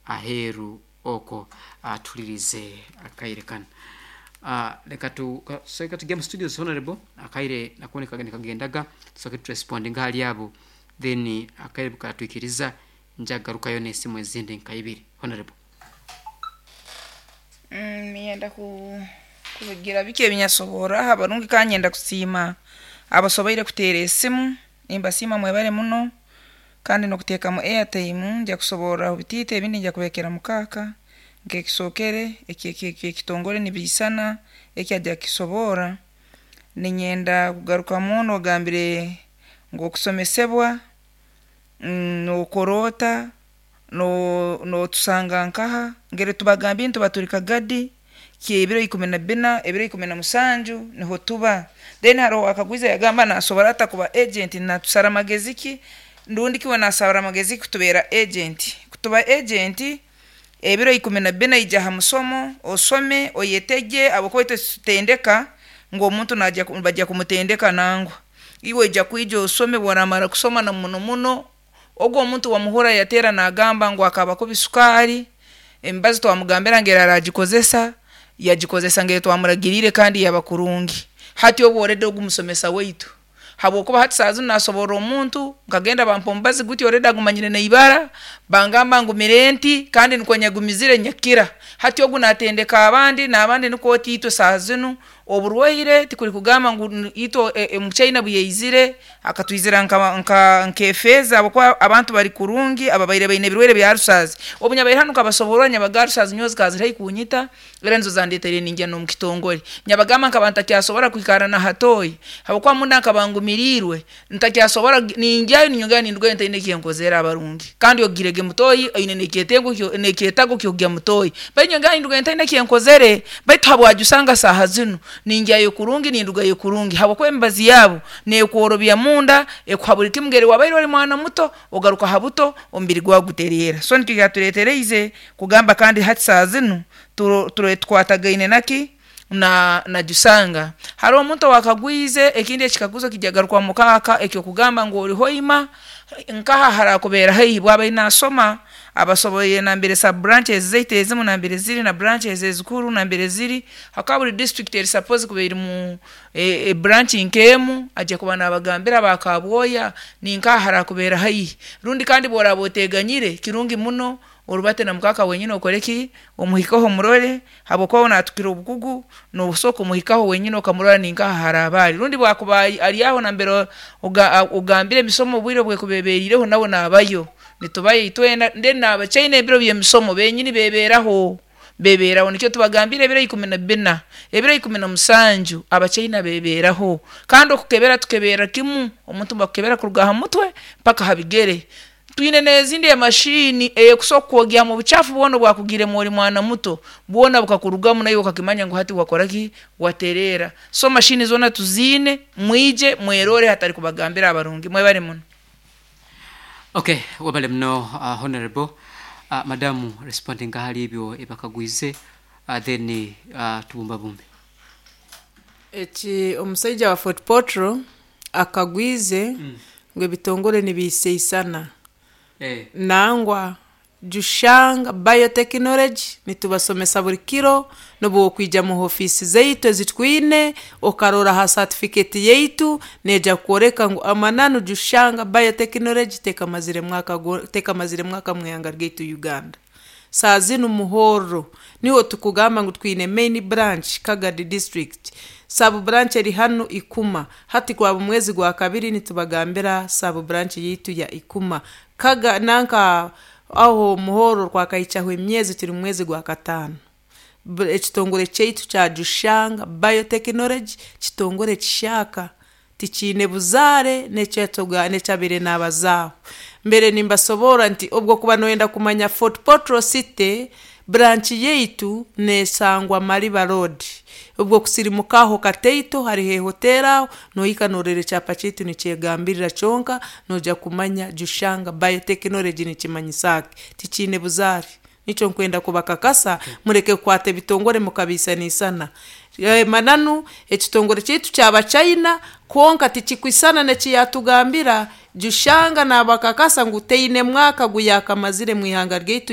Aheeru okwo tuhulirize akaire kanu. Leka tu soka tujya mu studios, honorable, akaire nako nikagendaga, tusoke turespondinga hali abo, then akaire bukatwikiriza njagarukayo n'esimu ezindi nka ibiri, honorable. Ninyenda kubigira biki ebinyasoboraho abarungi, kandi nyenda kusiima abasoboire kuteera esimu, nimbasiima, mwebale muno, kandi n'okuteekamu airtime. Nja kusoborraho bitiito, ebindi nja kubirekera mukaaka. Nk'ekisookere eky'ekitongore nibiisana, eki ajja kukisoborra. Ninyenda kugarukamu onu ogambire ngu okusomesebwa nookora ota, nootusanga nkaha? Ngeri tubagambiire, nituba tuli Kagadi ky'ebiro 14, ebiro 17 niho tuba. Then haroho owakagwize yagamba naasobora ata kuba agent, natusara magezi ki rundi ki we naasara magezi ki kutubeera agent? Kutuba agent, ebiro 14 ija ha musomo, osome, oyetege, habwokuba itwe titutendeka ngu omuntu naija nibajya kumutendeka, nangwa, iwe oija kwija osome. Obu oraamara kusoma, na muno muno ogu omuntu wamuhurra yateera naagamba ngu akaba kubi sukaari, emibazi twamugambira ngu araagikozesa, yagikozesa ngeri twamuragiriire kandi yaba kurungi. Hati ogu already ogu musomesa waitu, habwokuba hati saaha zinu naasoborra omuntu, nkagenda bampa omubazi guti, already agumanyire n'ibara, bangamba ngumire nti, kandi nikwo nyagumizire nyakira. Hati ogu naatendeka abandi n'abandi, nukwo oti itwe saaha zinu oburwaire tikuli kugamba ngu itwe omuchaina obu yaizire akatwizira nk'efeeza, habwokuba abantu bali kurungi ababaire baine ebirwaire bya ulcers. Obu nabaire hanu nkabasoborra, nyabaga ulcers nyowe zikaba ziri haihi kunyita, era nizo zandeetiire ningya n'omukitongore. Nyabagamba nkaba ntakyasobora kwikarra na ha toyi, habwokuba munda nkaba ngumiriirwe ntakyasobora, ningyayo ninyongera nindugayo ntaine eki nkozere, abarungi. Kandi ogirege mu toyi oine n'ekyetengo n'ekyetaago ky'okugya mu toyi, baitu nyongera nindugayo ntaine eki nkozere. Baitu habwa saaha zinu ningyayo kurungi, nindugayo kurungi, habwokuba emibazi yabo neekworobya munda, ekuha buli kimu, ngeri wabaire oli mwana muto ogaruka ha buto, omubiri gwawe gutereera. So nikyo kyatuleeteriize kugamba, kandi hati saaha zinu tukwatagaine naki na Jusanga. Haroho omuntu owakagwize ekindi ekikaguzo, kijya kugarukwamu mukaaka, eky'okugamba ngu oli Hoima, nkaha haraakubeera haihi? Obu abaire naasoma abasoboire nambere sub branches zaitu ezimu nambere ziri na branches ezikuru nambere ziri, habwokuba buli district eri suppose kuba erumu branch nk'emu, ajya kuba naabagambira aba Kabwoya ninkaha haraakubeera haihi. Rundi kandi obu oraaba oteeganyire, kirungi muno orubate na mukaaka wenyini, okole ki, omuhikeho omurole, habwokuba we naatukira obukugu, noosobola kumuhikaho wenyini okamurora ninkaha haraaba ali, rundi obu akuba ali aho nambere ogambire emisomo obwire obu ekuba ebeeriireho, nawe naabayo, nitubayo itwena. Then n'abachaina ebiro by'emisomo benyini beebeeraho, beebeeraho. Nikyo tubagambiire ebiro 14, ebiro 17 abachaina beebeeraho. Kandi okukebera tukeberra kimu, omuntu nibakukebera kuruga ha mutwe mpaka ha bigere. Twine n'ezindi emashini eyeekusobora kukwogyamu obucaafu bwona obwakugiiremu oli mwana muto, bwona bukakurugamu, naiwe okakimanya ngu hati wakora ki, watereera. So mashini zoona tuziine, mwije mwerole hatali kubagambira. Abarungi, mwebale muno. Okay, webale muno, honorable. Madamu, responding hali ebyo ebakagwize, then tubumbabumbe. Eki omusaija wa Fort Portal akagwize ngu ebitongore nibiisaisana. Nangwa, Jushanga Biotechnology nitubasomesa buri kiro. N'obu okwija mu ofiisi zaitu ezitwine okarora ha certificate yaitu, neija kukwoleka ngu amananu Jushanga Biotechnology tekamazire mwaka, tekamazire mwaka mu ihanga ryaitu Uganda. Saaha zinu Muhorro niho tukugamba ngu twine main branch Kagadi district, sub branch eri hanu Ikuma. Hati gwaba omwezi gwa kabiri nitubagambira sub branch yaitu ya Ikuma. Kaga nanka aho Muhorro twakahikyaho emyezi, turi mu mwezi gwa kataano. Ekitongore kyaitu kya Jushanga Biotechnology kitongore kishaaka, tikiine buzaare n'ekyabaire naabazaaho. Mbere nimbasoborra nti obwo kuba nooyenda kumanya Fort Portal City, branch yaitu neesangwa Mariba Road. Obwo kusirimukaho kataito hariho ehoteeri aho, nohika noorora ekyapa kyaitu nikyegambirira kyonka, noija kumanya Jushanga Biotechnology nikimanyisa ki. Tikiine buzaare. Nikyo nkwenda kubakakasa, mureke kukwata ebitongore mukabiisanaisana. Mananu ekitongore kyaitu ky'Abachina, kwonka tikikwisana n'eki yatugambira. Jushanga naabakakasa ngu teine mwaka gu yaakamazire mu ihanga ryaitu.